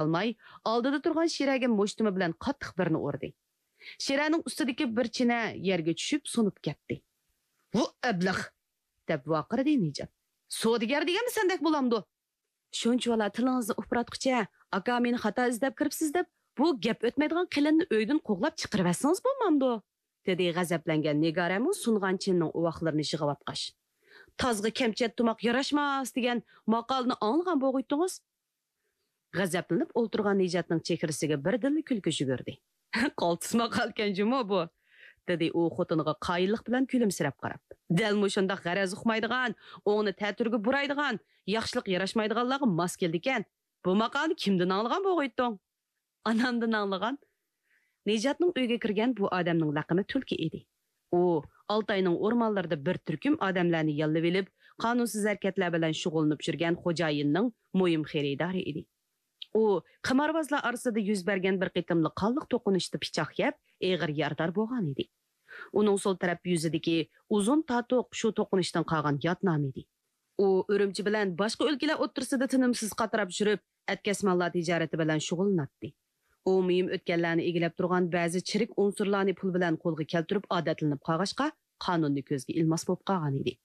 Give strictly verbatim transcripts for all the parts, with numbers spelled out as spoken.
قالماي، ئالدىدا تۇرغان شىرەگە مۇشتۇمى بىلەن قاتتىق بىرنى ئۇردى. شىرەنىڭ ئۈستىدىكى بىر چىنە يەرگە چۈشۈپ سۇنۇپ كەتتى. «ۋۇ ئەبلەخ!» دەپ ۋارقىرىدى نىجات. «سودىگەر دېگەنمۇ سەندەك بولامدۇ؟ شۇنچىۋالا تىلىڭىزنى ئۇپراتقۇچە، ئاكا مېنى خاتا ئىزدەپ كىرىپسىز دەپ، بۇ گەپ ئۆتمەيدىغان قېلىننى ئۆيدىن قوغلاپ چىقىرىۋەتسىڭىز بولمامدۇ؟» دېدى غەزەپلەنگەن نىگارەمۇ سۇنغان چىنىنىڭ ئۇۋاقلىرىنى يىغىۋاتقاچ. «تازغا كەمچەت تۇماق ياراشماس دېگەن ماقالىنى ئاڭلىغان بولغۇيتتىڭىز.» غەزەپلىنىپ ئولتۇرغان نىجاتنىڭ چېھرىسىگە بىردىنلا كۈلكە يۈگۈردى. «قالتىس ماقالىكەنجۇمۇ بۇ!» دېدى ئۇ خوتۇنىغا قايىللىق بىلەن كۈلۈمسىرەپ قاراپ. «دەل مۇشۇنداق غەرەز ئۇقمايدىغان، ئوڭنى تەتۈرگە بۇرايدىغان، ياخشىلىق ياراشمايدىغانلارغا ماس كېلىدىكەن. بۇ ماقالىنى كىمدىن ئاڭلىغان بولغىيتتۇڭ؟» «ئانامدىن ئاڭلىغان.» نىجاتنىڭ ئۆيىگە كىرگەن بۇ ئادەمنىڭ لەقىمى تۈلكە ئىدى. ئۇ ئالتاينىڭ ئورمانلىرىدا بىر تۈركۈم ئادەملەرنى ياللىۋېلىپ، قانۇنسىز ھەرىكەتلەر بىلەن شۇغۇللىنىپ يۈرگەن خوجايىننىڭ مۇھىم خېرىدارى ئىدى. ئۇ قىمارۋازلار ئارىسىدا يۈز بەرگەن بىر قېتىملىق قانلىق توقۇنۇشتا پىچاق يەپ، ئېغىر يارىدار بولغان ئىدى. ئۇنىڭ سول تەرەپ يۈزىدىكى ئۇزۇن تاتۇق شۇ توقۇنۇشتىن قالغان يات نامى ئىدى. ئۇ ئۈرۈمچى بىلەن باشقا ئۆلكىلەر ئوتتۇرىسىدا تىنىمسىز قاتراپ يۈرۈپ، ئەتكەس ماللار تىجارىتى بىلەن شۇغۇللىناتتى. ئۇ مۇھىم ئۆتكەللەرنى ئىگىلەپ تۇرغان بەزى چىرىك ئۇنسۇرلارنى پۇل بىلەن قولغا كەلتۈرۈپ ئادەتلىنىپ قالغاچقا، قانۇننى كۆزگە ئىلماس بولۇپ قالغان ئىدى.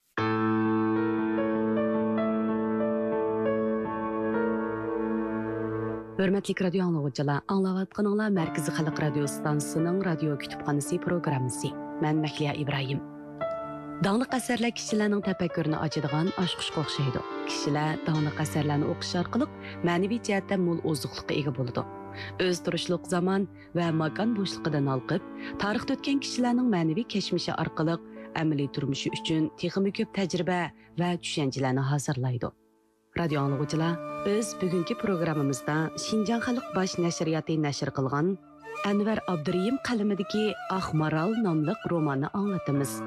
ھۆرمەتلىك رادىيو ئاڭلىغۇچىلار، ئاڭلاۋاتقىنىڭلار مەركىزىي خەلق رادىيو ئىستانسىسىنىڭ رادىيو كۈتۈپخانىسى پروگراممىسى. مەن مەھلىيا ئىبراھىم. داڭلىق ئەسەرلەر كىشىلەرنىڭ تەپەككۇرىنى ئاچىدىغان ئاچقۇچقا ئوخشايدۇ. كىشىلەر داڭلىق ئەسەرلەرنى ئوقۇش ئارقىلىق مەنىۋى جەھەتتە مول ئوزۇقلۇققا ئىگە بولىدۇ. ئۆزى تۇرۇشلۇق زامان ۋە ماكان بوشلۇقىدىن ھالقىپ، تارىختا ئۆتكەن كىشىلەرنىڭ مەنىۋى كەچمىشى ئارقىلىق ئەمەلىي تۇرمۇشى ئۈچۈن تېخىمۇ كۆپ تەجرىبە ۋە چۈشەنچىلەرنى ھازىرلايدۇ. رادىيو ئاڭلىغۇچىلار، بىز بۈگۈنكى پروگراممىمىزدا شىنجاڭ خەلق باش نەشرىياتى نەشر قىلغان ئەنۋەر ئابدۇرېھىم قەلىمىدىكى ئاق مارال ناملىق روماننى ئاڭلىتىمىز.